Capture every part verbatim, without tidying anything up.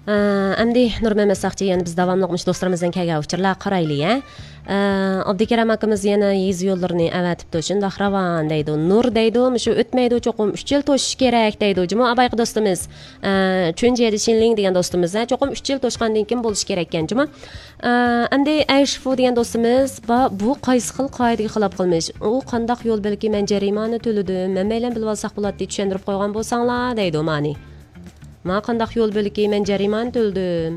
ئە، ئەمدى نۇرمەمەت ساقچى، يەنە بىز داۋاملىق مۇشۇ دوستلىرىمىزدىن كەلگەن ئۇچۇرلارغا قارايلى، ھە. ئە، ئابدۇكېرەم ئاكىمىز يەنە يېزا يوللىرىنى ئەۋەتىپتۇ. شۇنداق راۋان دەيدۇ. نۇر دەيدۇ، مۇشۇ ئۆتمەيدۇ، چوقۇم ئۈچ يىل توشۇش كېرەك دەيدۇ. جۇمۇ ئابايقى دوستىمىز، ئە، چۈنجيەدە شىنلىڭ دېگەن دوستىمىز، ھە، چوقۇم ئۈچ يىل توشقاندىن كېيىن بولۇشى كېرەككەن. جۇمۇ، ئە، ئەمدى ئەيشفۇ دېگەن دوستىمىز، با-، بۇ قايسى خىل قائىدىگە خىلاپ قىلمىش؟ ئۇ قانداق يول بۆلىكى مەن جەرىمانە تۆلىدىم؟ مەن بىلەن بىلىۋالساق بولاتتى، چۈشەندۈرۈپ قويغان بولساڭلار دەيدۇ مانى. ما قانداق يول بۆلىكى مەن جەرىمانە تۆلىدىم؟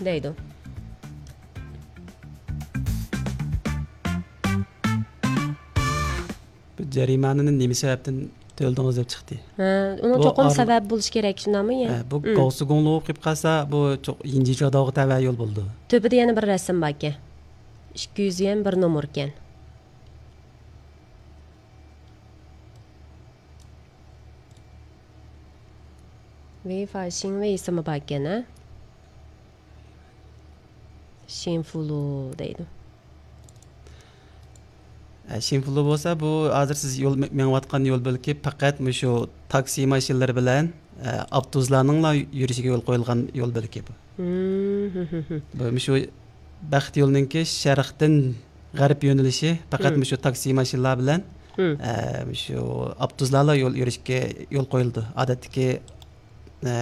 دەيدۇ. بۇ جەرىمانىنى نېمە سەۋەبتىن تۆلىدىڭىز دەپ چىقتى. ھە، ئۇنىڭ بۇ چوقۇم ئار- سەۋەبى بولۇشى كېرەك، شۇنداقمۇ يا؟ ھە، بۇ ھىم. گاۋسىگۇڭلۇ بولۇپ قېلىپ قالسا، بۇ چوق-، يىنجىچۇاداۋغا تەۋە يول بولىدۇ. تۆپىدە يەنە بىر رەسىم باركەن. ئىككى يۈز يۈەن بىر نومۇركەن. ۋېي فاشىڭ ۋېي ئېسىمى باركەن، ھە؟ شىنفۇلۇ دەيدۇ. ئە، شىنفۇلۇ بولسا، بۇ ھازىر سىز يول مېڭىۋاتقان يول بۆلىكى پەقەت مۇشۇ تاكسى ماشىنىلىرى بىلەن، ئە، ئاپتوبۇسلارنىڭلا يۈرۈشىگە يول قويۇلغان يول بۆلىكى بۇ. بۇ مۇشۇ بەخت يولىنىڭكى شەرقتىن غەرب يۆنىلىشى پەقەت مۇشۇ تاكسى ماشىنىلار بىلەن، ئە، مۇشۇ ئاپتوبۇسلارلا يول يۈرۈشكە يول قويۇلىدۇ. ئادەتتىكى، ئە،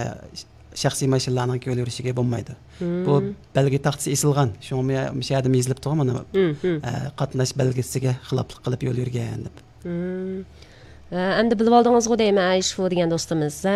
شەخسىي ماشىنىلارنىڭكى يول يۈرۈشىگە بولمايدۇ. بۇ بەلگە تاختىسى ئېسىلغان. شۇڭا مۇشۇ يەردە يېزىلىپتۇغۇ مانا، ئە، قاتناش بەلگىسىگە خىلاپلىق قىلىپ يول يۈرگەن دەپ. ئە، ئەمدى بىلىۋالدىڭىزغۇ دەيمەن، ئەيشفۇ دېگەن دوستىمىز.